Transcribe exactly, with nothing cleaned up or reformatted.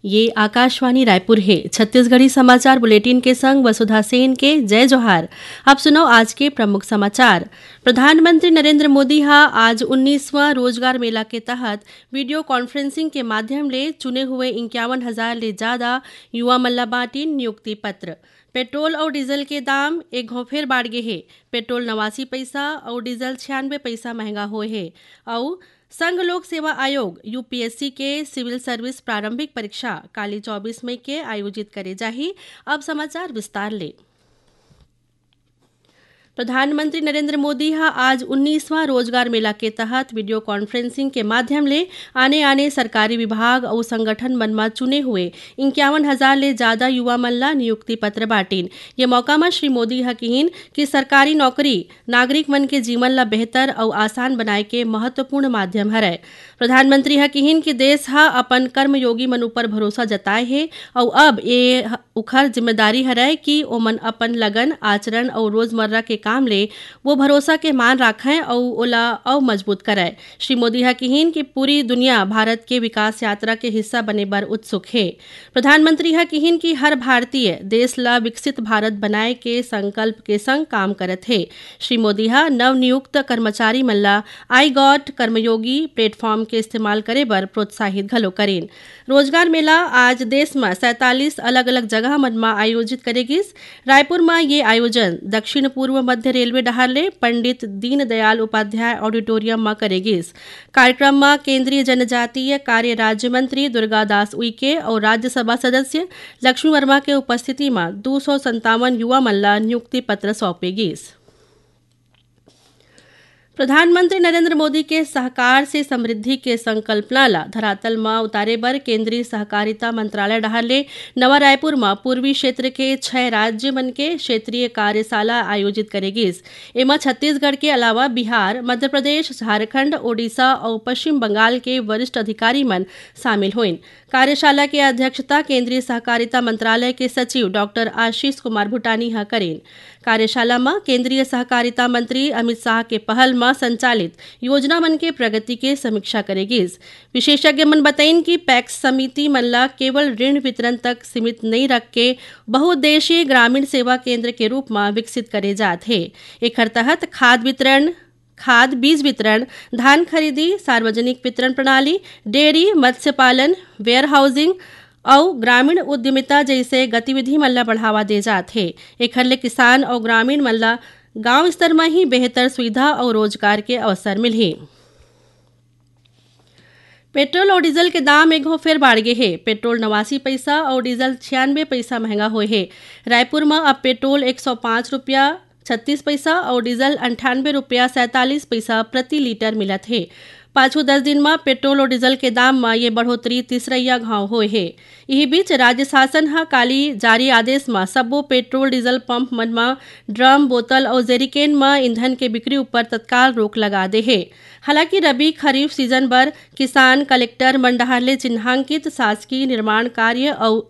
ये आकाशवाणी रायपुर हे। छत्तीसगढ़ी समाचार बुलेटिन के संग वसुधा सेन के जय जोहार। अब सुनो आज के प्रमुख समाचार। प्रधानमंत्री नरेंद्र मोदी ह आज उन्नीसवाँ रोजगार मेला के तहत वीडियो कॉन्फ्रेंसिंग के माध्यम ले चुने हुए इक्यावन हजार ले ज्यादा युवा मन ला बांटिन नियुक्ति पत्र। पेट्रोल अउ डीजल के दाम एक घौं फेर बाढ़ गे हे। पेट्रोल नवासी पैसा अउ डीजल छियानवे पैसा महंगा होए हे। अउ संघ लोक सेवा आयोग, यूपीएससी, के सिविल सर्विस प्रारंभिक परीक्षा काली चौबीस मई के आयोजित करे जाही। अब समाचार विस्तार ले। प्रधानमंत्री नरेंद्र मोदी ह आज उन्नीसवाँ रोजगार मेला के तहत वीडियो कॉन्फ्रेंसिंग के माध्यम ले आने-आने सरकारी विभाग अउ संगठन मन म चुने हुए इक्यावन हजार ले ज्यादा युवा मन ला नियुक्ति पत्र बांटिन। ये मौका म श्री मोदी ह किहिन कि सरकारी नौकरी नागरिक मन के जीवन ला बेहतर अउ आसान बनाए के महत्वपूर्ण माध्यम हरय। प्रधानमंत्री ह किहिन कि देश ह अपन कर्मयोगी मन ऊपर भरोसा जताए हे अउ अब ये ह-, उखर जिम्मेदारी हरय कि ओमन अपन लगन, आचरण अउ रोजमर्रा के काम ले वो भरोसा के मान राखंय अउ ओला अउ मजबूत करय। श्री मोदी ह किहिन कि पूरी दुनिया भारत के विकास यात्रा के हिस्सा बने बर उत्सुक हे। प्रधानमंत्री ह किहिन कि हर भारतीय देश ला विकसित भारत बनाए के संकल्प के संग काम करत हे। श्री मोदी ह नवनियुक्त कर्मचारी मन ला आई गॉट कर्मयोगी प्लेटफॉर्म के इस्तेमाल करे बर प्रोत्साहित घलो करिन। रोजगार मेला आज देश म सैंतालीस अलग-अलग जगह मन म आयोजित करे गिस। रायपुर म ये आयोजन दक्षिण पूर्व मध्य रेलवे डहार ले पंडित दीनदयाल उपाध्याय ऑडिटोरियम म करे गिस। कार्यक्रम म केंद्रीय जनजातीय कार्य राज्य मंत्री दुर्गादास उइके अउ राज्यसभा सदस्य लक्ष्मी वर्मा के उपस्थिति म दू सौ संतावन युवा मन ला नियुक्ति पत्र सौंपे गिस। प्रधानमंत्री नरेंद्र मोदी के सहकार से समृद्धि के संकल्पना ला धरातल म उतारे बर केंद्रीय सहकारिता मंत्रालय डहार ले नवा रायपुर म पूर्वी क्षेत्र के छह राज्य मन के क्षेत्रीय कार्यशाला आयोजित करे गिस। एमा छत्तीसगढ़ के अलावा बिहार, मध्य प्रदेश, झारखंड, ओडिशा अउ पश्चिम बंगाल के वरिष्ठ अधिकारी मन शामिल होइन। कार्यशाला के अध्यक्षता केंद्रीय सहकारिता मंत्रालय के सचिव डॉक्टर आशीष कुमार भूटानी ह करिन। कार्यशाला म केंद्रीय सहकारिता मंत्री अमित शाह के पहल म संचालित योजना मन के प्रगति के समीक्षा करे गिस। विशेषज्ञ मन बतइन कि पैक्स समिति मन ला केवल ऋण वितरण तक सीमित नइ रख के बहुउद्देशीय ग्रामीण सेवा केंद्र के रूप म विकसित करे जात हे। एखर तहत खाद वितरण, खाद, बीज वितरण, धान खरीदी, सार्वजनिक वितरण प्रणाली, डेयरी, मत्स्य पालन, वेयर हाउसिंग अउ ग्रामीण उद्यमिता जइसे गतिविधि मन ल बढ़ावा दे जात हे। एखर ले किसान अउ ग्रामीण मन ल गांव स्तर म ही बेहतर सुविधा अउ रोजगार के अवसर मिलही। पेट्रोल अउ डीजल के दाम एक घौं फेर बाढ़ गे हे। पेट्रोल नवासी पैसा अउ डीजल छियानवे पैसा महंगा होए हे। रायपुर म अब पेट्रोल एक सौ पाँच रुपया छत्तीस पैसा अउ डीजल अंठानवे रुपया सैंतालीस पैसा प्रति लीटर मिलत हे। पाछू दस दिन म पेट्रोल अउ डीजल के दाम म ये बढ़ोतरी तीसरइया घांव होए हे। इही बीच, राज्य शासन ह काली जारी आदेश म सब्बो पेट्रोल डीजल पंप मन म ड्रम, बोतल अउ जेरीकेन म ईंधन के बिक्री ऊपर तत्काल रोक लगा दे हे। हालांकि रबी खरीफ सीजन बर किसान, कलेक्टर मन डहार ले चिन्हांकित शासकीय निर्माण कार्य अउ